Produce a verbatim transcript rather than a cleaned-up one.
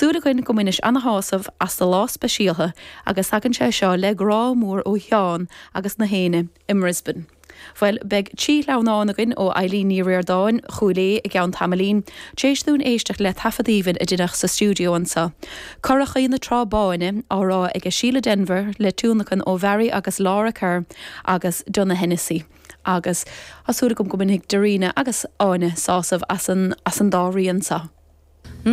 Súil againn go mbainis ana-shásamh as do lá speisialta agus tagann sé seo le grá mór ó Sheán agus na héinne i mBrisbane. Well beidh trí shleamhnán againn ó Eileen Ní Ríordáin Chúil Aodha i gceann tamaillín, tar éis dúinn éisteacht le taifead aoibhinn a deineadh sa stiúideo anseo. Curachaí na Trá Báine á rá ag Síle Denvir le tionlacan ó Mhary agus Laura Kerr agus Donagh Hennessy. Agus tá súil agam go mbainfidh Darina agus Áine sásamh as an, as an dá rian seo.